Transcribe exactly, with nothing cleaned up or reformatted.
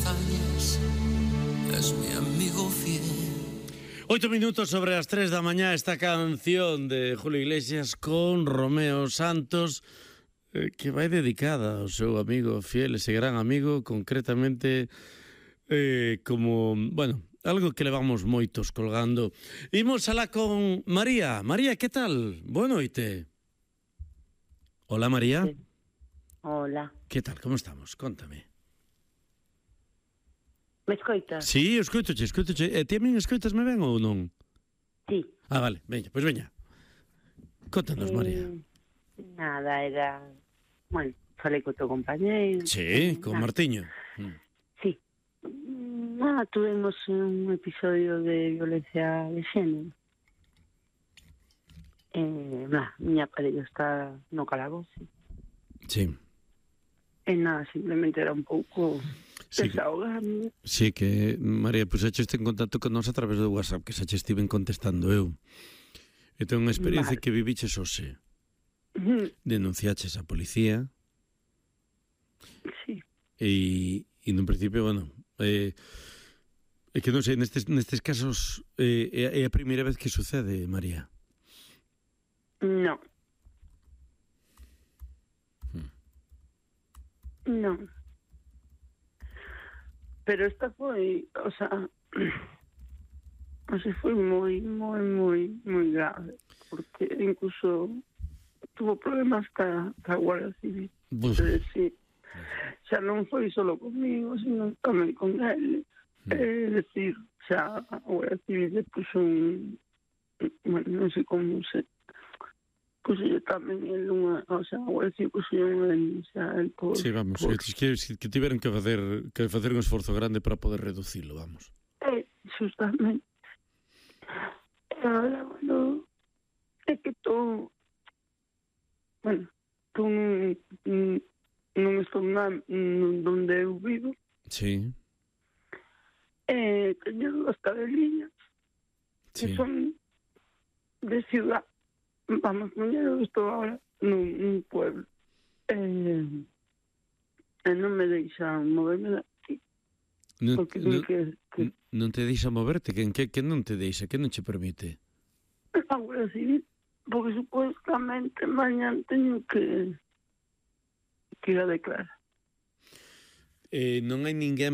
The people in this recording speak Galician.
hazañas, es mi amigo fiel. Oito minutos sobre as tres da mañá, esta canción de Julio Iglesias con Romeo Santos, eh, que vai dedicada ao seu amigo fiel, ese gran amigo, concretamente eh, como, bueno, algo que levamos moitos colgando. Imos alá con María. María, que tal? Boa noite. Hola, María. Sí. Hola. Que tal, como estamos? Contame. Me escoitas? Sí, escoitoche, escoitoche. E ti a min escoitasme ben ou non? Sí. Ah, vale, veña, pois veña. Contanos, María. Eh, nada, era... Bueno, falei co teu compañeiro. Sí, con nada. Martiño. Mm. Sí. Nada, tuvemos un episodio de violencia de xénero. Eh, nada, miña parella está no calabozo. Sí. E nada, simplemente era un pouco... Sí, desahogarme. sí, que, María, pois pues, echaste en contacto con nós a través do WhatsApp, que xa che estiven contestando eu. E tenho unha experiencia Vale. que viviches hoxe. Ujú. Denunciaches a policía Sí. e, e no principio, bueno, eh, é que non sei, nestes, nestes casos eh, é, é a primeira vez que sucede, María. No. Hmm. No. Pero esta foi, o sea, o sea, foi moi, moi, moi, moi grave, porque incluso tuvo problemas ca, ca Guardia Civil. Buf. É dicir, xa non foi solo comigo, sino tamén con ele. Mm. É dicir, xa a Guardia Civil le puxo un, bueno, non sei como se, puxo tamén el unha, o sea, a Guardia Civil puxo unha denuncia el por... Sí, vamos, por... que, que, que tiveron que facer, que facer un esforzo grande para poder reducilo, vamos. É, justamente. E agora, bueno, é que tô... Bueno, tô nun, non estou na, donde eu vivo. Sí. E teño dúas cadeliñas que Sí. son de ciudad. Vamos, eu estou agora nun, nun pueblo. E, e non me deixan moverme daqui. Non, Porque non, que, que non te deixa moverte? Que, que, que non te deixa? Que non che permite? a Guardia Civil, porque supuestamente mañana teño que que ir a declarar. Eh, non hai ninguén